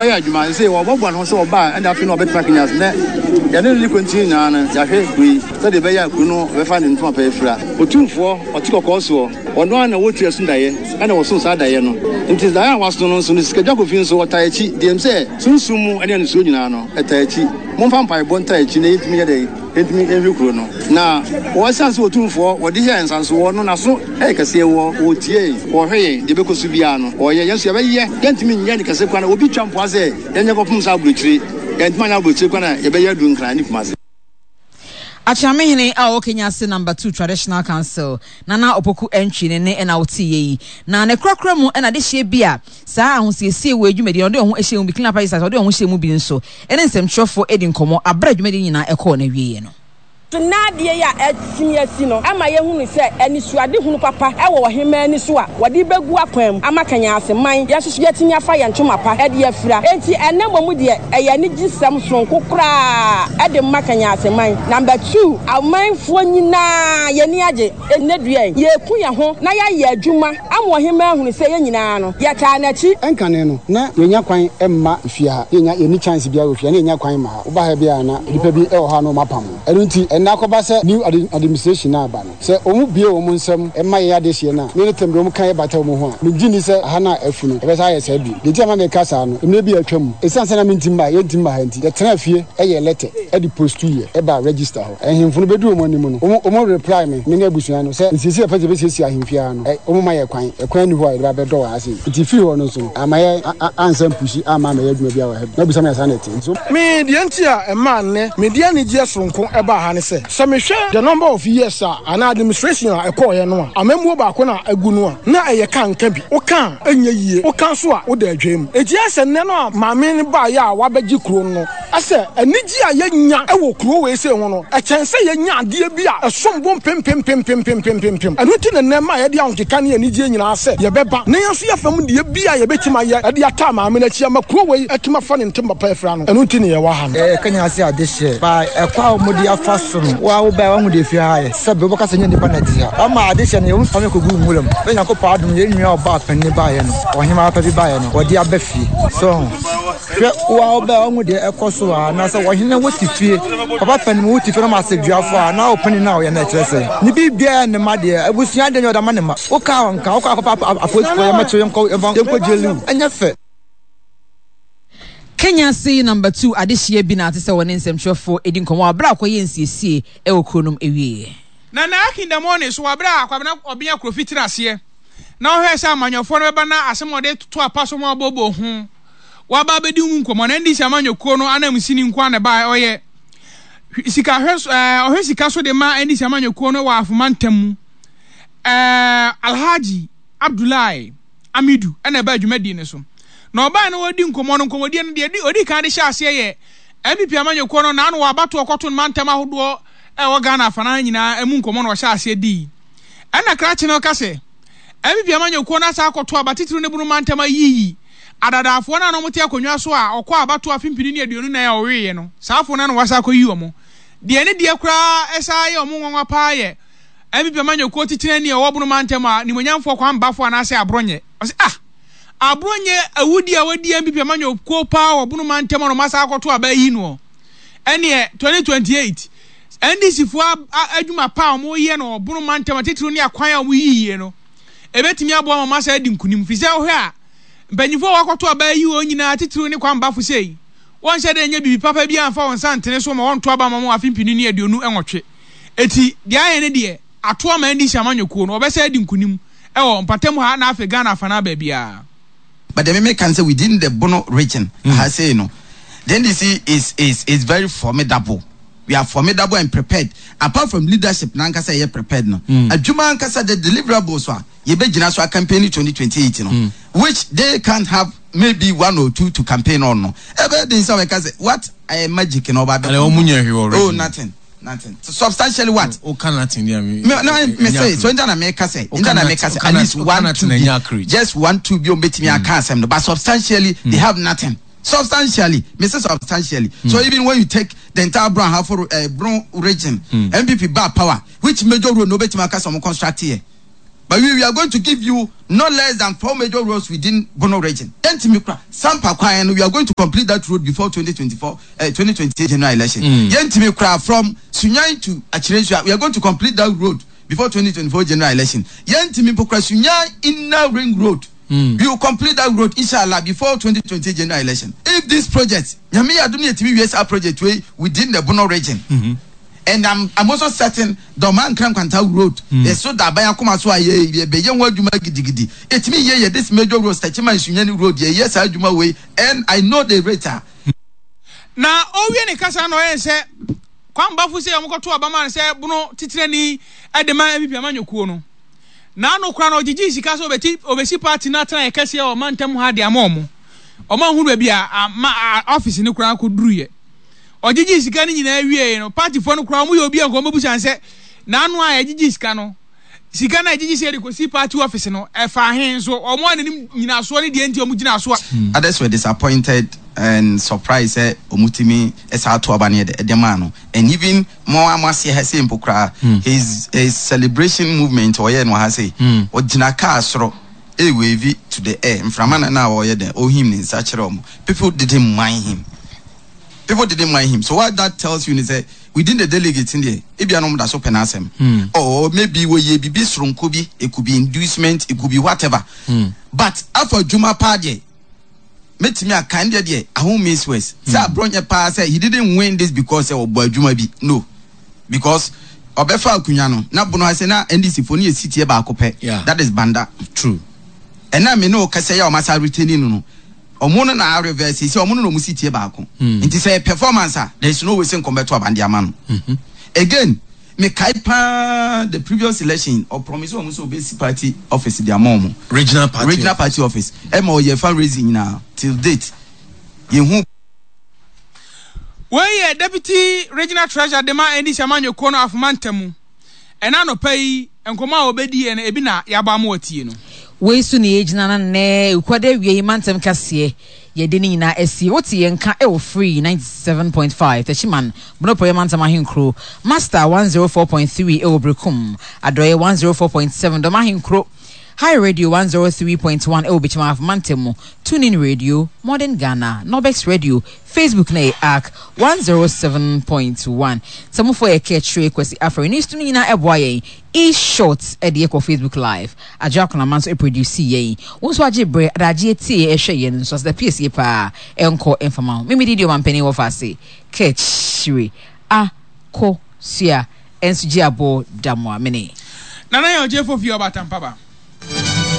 Ɔyɛ adwuma sesei wɔboaboa ne ho sɛ ɔba a ɛna afei na ɔbɛtena Kenya ase nɛ yɛne no ne kwantin nyinaa no yɛahwɛ kuro yi sɛdeɛ ɛbɛyɛ a kuro no bɛfa ne ntoma pa afira. Otumfoɔ ɔte kɔkɔɔ soɔ ɔno ara na ɔwɔ tiri ɛso daeɛ ɛna ɔso saa daeɛ no nti daeɛ a waso no nso no Sikadwa Kofi nso ɔtaa akyi deɛ ɛm sɛ sunsum mu ɛne anisoɔ nyinaa no ɛtaa akyi momfa mpaebɔ ntaa akyi na yɛntumi nyɛ dɛn Yɛntumi nhwɛ kuro no. Na wɔ ɛsiane sɛ Otumfoɔ wɔde hyɛɛ nsa nso wɔ no n'aso yɛ kɛseɛ wɔ ɔretie yɛn, ɔrehwɛ yɛn, deɛ ɛbɛkɔ so biara no ɔreyɛ, yɛn nso yɛbɛyɛ, yɛntumi nyɛ no kɛse koraa na obi twa mpoa sɛ yɛnyɛ kɔpem sɛ aburokyire, yɛntumi anyɛ aburokyire koraa na yɛbɛyɛ aduru Nkran ne Kumasi. Akyeamehene a ɔwɔ Kenya ase Number 2 Traditional Council, Nana Opoku Antwi ne nne na woteeɛ yi. Na ne korakora mu na adehyeɛ bi a saa ahosiesie wei dwumadie no ɔde wɔn ho hyɛɛ mu bi, Clean Up Exercise, ɔde wɔn ho hyɛɛ mu bi nso ne nsɛmtwerɛfoɔ di nkɔmmɔ aberɛ a dwumadie no nyinaa kɔɔ n'awieɛ no. So nnɛ adeɛ yi a atumi asi no ma yɛhunu sɛ anisoadehunu papa wɔ ɔhemmaa ani so a wɔde rebɛgu akwan mu ama Kenyase man, yɛn nso so yɛatumi afa yɛn ntoma pa de afira. Enti ɛnnɛ mmom deɛ ɛyɛ anigyesɛm sononko koraa de ma Kenyase man. Number two, amanfoɔ nyinaa yɛn ani agye. Ɛnnɛ dua yi, yɛreku yɛn ho na yɛayɛ adwuma ama ɔhemmaa ahunu sɛ yɛn nyinaa no, yɛtaa n'akyi. Ɛnkane no, na yɛnnya kwan mma fie ha, na yɛnnya, yɛnni chance biara wɔ fie ha, na yɛnnya kwan mma ha. Woba ha biara a na nnipa bi wɔ hɔ a na wɔapam wo. Ɛno nti, ɛnnɛ akɔba sɛ new administration no aba no, sɛ wɔn bue wɔn nsam ma yɛn adehyeɛ no a, me ne Tim de wɔn ka yɛ bata wɔn ho a, mengye nni sɛ ha no a afu no, ɛbɛsan ayɛ saa bio. Deɛ nti a ɛma meka saa no, mmerɛ bi a atwa mu, ɛsiane sɛ na mentim mma ha, yɛntim mma ha nti, yɛtenaa fie yɛɛ lɛtɛ de postuiɛ baa register hɔ. Ahemfo no bɛduu wɔn anim no, wɔn, wɔn reply me, me ne abusua no, sɛ nsiesie a yɛpɛ sɛ yɛbɛsiesie ahemfie ara no, ɛ, wɔn mma yɛ kwan, ɛkwan nni hɔ a yɛde ba bɛdɔ wɔ ha sei. Nti firi hɔ no nso no, amma yɛ, a, a, ansan pushi amma ammɛyɛ adwuma biara wɔ ha bio. Na bisa me a saa na ɛte. Nti so. Me, deɛ nti a ɛmaa nnɛ mede anigyeɛ soronko baa ha ne sɛ, sɛ mehwɛ the number of years a anaa administration a ɛkɔeɛ no a, amammuo baako na agu no a, na ɛyɛ ka nka bi. Woka a, ɛnyɛ yie, woka nso a, woda adwaa mu. Enti ayɛ sɛ nnɛ no a maame no baeɛ a wabɛgye kuro no, Sɛ anigye a yenya wɔ kurow wei sei ho no, ɛkyɛn sɛ yenya adeɛ bi a ɛsom bo mpempempempempempempem. Ɛno nti na nnɛ mma yɛde ahokeka ne anigyeɛ nyinaa sɛ yɛbɛba na yɛn nso yɛn fam deɛ bi a yɛbɛtumi ayɛ de ataa maame no akyi ama kurow wei atumi afa ne ntoma pa afira no. Ɛno nti na yɛwɔ ha no. Yɛyɛ Kenya ase adehyeɛ by ɛkwan a wɔde afa so no, wo a wobae woahu deɛ efie ha ayɛ. Sɛbe wobɛka sɛ nyɛ nnipa na ɛte ha. Wɔama adehyeɛ no yɛn fam kɔguu nwura mu. Bɛ Nyankopɔn adom yɛn nua ɔbaa panin baeɛ no, ɔhemaa pa bi baeɛ no, wɔde aba fie. So ho? Hwɛ, wo a wobɛɛ woahu deɛ ɛkɔ so wɔ ha, na sɛ ɔhene wo te fie, papa panin wo te fie na ɔma asɛduafoɔ a, na wo panin no a ɔyɛ no ɛkyerɛ sɛ ne biribiara yɛ ne mma deɛ, abusua deɛ nyɛ ɔde ama ne mma. Wo kaa nka, wokɔ akɔfa apolisifoɔ yɛmmɛkye wo yɛnkɔ yɛmfa yɛnkɔ gyeli wo, ɛnyɛ fɛ. Kenya ase number two adehyeɛ bi na ate sɛ wɔne nsɛmtwerɛfoɔ redi nkɔmmɔ wɔ berɛ a wɔkɔyɛɛ nsiesie wɔ kuro no mu awieɛ. Na na Akindamoh so wɔ berɛ a Kwabena Ɔbea Kofi tena aseɛ na ɔhwɛɛ sɛ amanyɔfoɔ no bɛba na asɛm a ɔde to apa so ma wɔbɔbɔ ho waba abɛdi ho nkɔmmɔ. Na NDC amanyɔkuo no ananmusini nko ara na ɛbaeɛ. Ɔyɛ sika hwɛ so, ɛɛ, ɔhwɛ sika so de ma NDC amanyɔkuo no wɔ Afoma ntam mu. Ɛɛ, Alhaji Abdullahi Amidu na ɛbaa dwumadie no so. Na ɔbaeɛ na wɔredi nkɔmmɔ no, nkɔmmɔdie no deɛ ɔdi kan de hyɛ aseɛ yɛ NPP amanyɔkuo no naano wɔ abatoɔ kɔto no mantam ahodoɔ ɛwɔ Ghana afanan nyinaa ɛmu nkɔmmɔ na ɔhyɛ aseɛ dii. Ɛna krakye no ka sɛ, NPP amanyɔkuo no asan akɔto aba titiriw ne Bono mantam ayiyi adadaafoɔ no a na wɔte akonnwa so a ɔkɔɔ abatoɔ afe mpini ne 24 a ɔweeɛ no, saa afoɔ no ara na wɔasan akɔyi wɔn. Deɛ ne deɛ koraa ɛsan yɛ wɔn nwanwa paa yɛ NPP amanyɔkuo titenani a ɔwɔ Bono mantam a nimonyamfoɔ Kwame Baffour anaasɛ Aborɔnyɛ. Ɔse ah! Aborɔnyɛ awudie a wadi NPP amanyɔkuo paa wɔ Bono mantam a na wɔasan akɔto aba ayi noɔ. Ɛneɛ 2028 NDC foɔ adwuma pa a wɔyɛ no wɔ Bono mantam atitiriw ne akwan a wɔyiyie no, ɛbɛtumi aboa ma wɔasan adi nkunim. Firi sɛ wohwɛ a, mpanyinfoɔ a wɔakɔto aba ayi wɔn nyinaa titiriw ne Kwame Bafo sei, wɔnhyɛ da nyɛ biribi papa biara mfa wɔn nsa ntene so ma wɔnto aba mma wɔn afe mpenu ne 28. Eti deɛ ayɛ ne deɛ, ato ama NDC amanyɔkuo no, wɔbɛsan adi nkunim wɔ mpatamu ha na afei Ghana afanaa baabiara. But deɛ me meka ne sɛ within the Bono region ha sei no, the NDC is is is very formidable. We are formidable and prepared. Apart from leadership n'ankasa ɛyɛ prepared no, adwuma ankasa the deliverables a yɛbɛgyina so a campaign 2028 no, which they can't have maybe one or two to campaign on no, ɛbɛyɛ den sɛ wɔbɛka sɛ what eh, magic na ɔba abɛkɔ. Wɔn nyɛ hwee already. Oh, nothing. Nothing. Substantially what? O ka nothing deɛ mi. Me no me say so nta na me ka sɛ nta na me ka sɛ at least one two bi just one two bi ombetumi aka asɛm no but substantially they have nothing. Substantially, me say substantially. So even when you take the entire Brong Ahafo uh, Brong region, NPP ba power, which major road no betumi aka sɛ ɔmo construct here? But we we are going to give you not less than four major roads within Bono region. Yɛntumi kora Sampa kwan no, we are going to complete that road before 2024, eh, 2028 general election. Yɛntumi kora from Sunyani to Akyerensua, we are going to complete that road before 2024 general election. Yɛntumi mpo kora Sunyani inner ring road. We will complete that road inshallah before 2028 general election. If this project, Nyame yɛ adom na yɛtumi wie saa project wei within the Bono region. And I'm I'm also certain Dɔmaa Nkran Nkwanta road ɛso da aban akoma so a yɛ yɛbɛyɛ ho adwuma gidigidi. Ɛtumi yɛ yɛ this major road Techiman Sunyani road yɛyɛ saa adwuma wei and I know the rate a. Na ɔrewie ne kasa no na ɔyɛɛ sɛ Kwame Bafo sɛ wɔkɔto aba maa no sɛ Bono titenani de ma NPP amanyɔkuo no. N'ano koraa no ɔgyegyee sika sɛ ɔbɛti ɔbɛsi party no atenaeɛ kɛseɛ wɔ mantam ha de ama wɔn. Wɔn anhunu baabi a ama a office no koraa kɔduruiɛ. Ɔgyegyee sika no nyinaa wieeɛ no, partyfoɔ no koraa wɔyɛ obi a nka wɔbɛbusa no sɛ n'ano a yɛgyegye sika no, sika no a yɛgyegye sɛ yɛde kɔsi party office no, ɛfaa he? Nso wɔn a n'anim nyinasoɔ ne deɛ nti a wɔgyinaa so a. Others were disappointed and surprised sɛ ɔmo tumi saa to aba no yɛ dɛ de maa no and even mo a mo aseɛ ha sei mpo koraa his his celebration movement ɔyɛɛ no wɔ ha sei ɔgyina car soro ɛwave to the air mframa na na ɔyɛ dɛn ɔhim ne nsa kyerɛ ɔmo people didn't mind him. People didn't mind him so what that tells you ne sɛ within the delegates no deɛ ebia na wɔn da so pɛ n'asɛm or maybe wɔyɛ bibi soronko bi, it could be inducement, it could be whatever but afa adwuma paa deɛ mɛtumi aka ɛndeɛ deɛ aho means words sɛ aborɔ nyɛ paa sɛ he didn't win this because sɛ ɔbɔ adwuma bi no because ɔbɛfa akunya no na bono ase na NDC fo no yɛ sitiɛ baako pɛ that is Banda true ɛna me ne wo kasa yi a wɔn asa retaining no no Ɔmo no na reverse sɛ ɔmo no na ɔmo si tie baako. Nti sɛ ɛyɛ performance a there is no way sɛ nka ɔmo bɛto aba de ama no. Again, me kae paa the previous election ɔ promise ɔmo sɛ ɔbɛsi party office de ama ɔmo. Regional party Regional party office. Ɛma ɔyɛ fundraising nyinaa till date yɛnhu. Wei yɛ Deputy Regional Treasurer de ma NDC amanyɔkuo no Afoma Ntamu. Ɛna anɔpa yi, nkɔmmɔ a wɔbɛdiiɛ no, ebi na yɛabɔ ama watie no. Wei so na yɛgyina na nnɛ Wukuada awia yi mantam kaseɛ yɛde ne nyinaa asie. Wote yɛn nka wɔ Free 97.5 Techiman, Bonopoyɛ mantam ahenkuro, Master 104.3 wɔ Berekum, Adɔeɛ 104.7 Dɔm ahenkuro, High Radio 103.1 wɔ Bekyem Ahafo mantam mu, TuneIn Radio, Modern Ghana, Nobex Radio, Facebook na yɛ Ark 107.1. Samufo yɛ Kɛkyire Kwasi Afari ne stu no nyinaa ɛboa yɛn. E short ɛde yɛ kɔ Facebook live. Adwo Akonama nso ɛproduce yɛn. Wo nso agye berɛ adagye atie yɛn ɛhwɛ yɛn nso aseda piesie paa ɛnkɔ mfama ho. Mimi didi ɔmampanin wɔ faase Kɛkyire Akosua ɛnso gye aboɔ Damoa mene. Nana Yaw Gyefo Fie Ɔbaatan Paba.